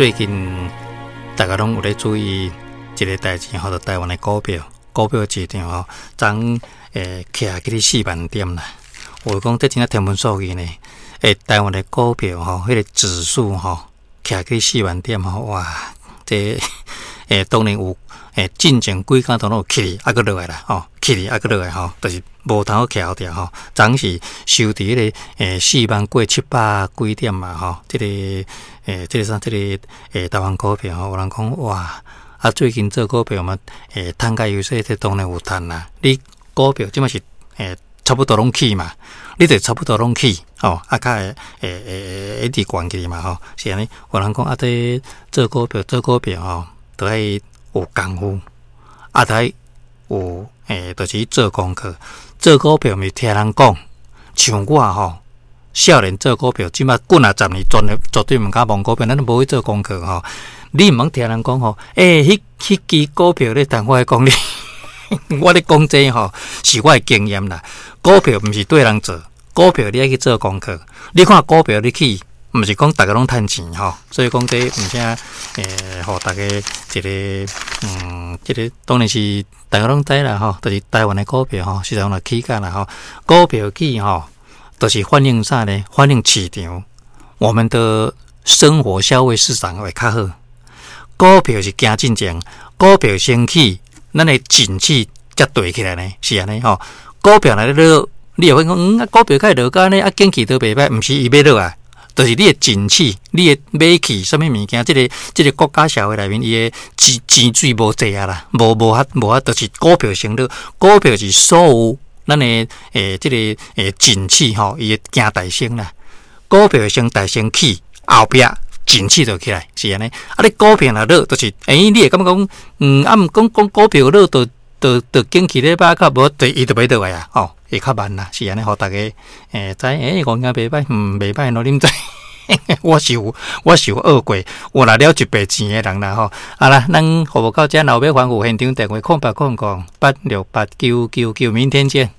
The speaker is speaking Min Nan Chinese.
最近大家攏有咧注意一个代誌吼，就台灣的股票，股票市場吼，昨徛起4萬點啦。有講這真正天文數字呢。台灣的股票吼，彼個指數吼，徛起四萬點吼，哇！這當然有進前幾工都攏有起，啊，閣落來啦，吼，起啊，閣落來吼，就是無通好徛牢吼。昨是收佇彼個4萬過700幾點嘛，吼，這個啥，這個台灣股票吼，有人講哇，啊最近做股票嘛，趁較優勢，這當然有趁啦。你股票這馬是差不多攏起嘛，你就差不多攏起，吼，啊較會會一直懸起嘛，吼，是按呢。有人講啊，這做股票做股票吼，都愛有功夫，啊，都愛有就是做功課。做股票毋是聽人講，像我吼，少年做股票，這馬滾啊10年，絕對毋敢摸股票，咱都無去做功課吼。你毋通聽人講吼，彼支股票咧，但我講你，我咧講這吼，是我的經驗啦。股票毋是綴人做，股票你愛去做功課。你看股票你去，毋是講逐个攏趁錢吼，所以講這毋啥予大家一個這個當然是大家攏知啦吼，就是台灣的股票吼，實在講起價啦吼，股票起吼，就是反映啥呢？反映市場，我們的生活消費市場會較好。股票是行進前，股票先起，咱的景氣才對起來呢，是按呢吼。股票若咧落，你會講啊，股票較會落甲呢，啊，景氣都袂歹，毋是伊欲落啊，就是你的景氣，你的買氣啥物物件，這個國家社會內面，伊的錢錢水無濟啊啦，無無法無法，就是股票先落，股票是所有咱的這個景氣吼，伊會行大先啦，股票先大先起，後壁景氣就起來，是按呢。啊，你股票若落，就是，你會感覺講，啊，毋講講股票落，就景氣咧歹較無，就伊就欲落來啊，吼，會較慢啦，是按呢，予大家知，五件袂歹，袂歹咯，恁知？我是有學過，有拿了一筆錢的人啦，吼。好啦，咱服務到這，若有欲反覆現場電話0800868999，明天見。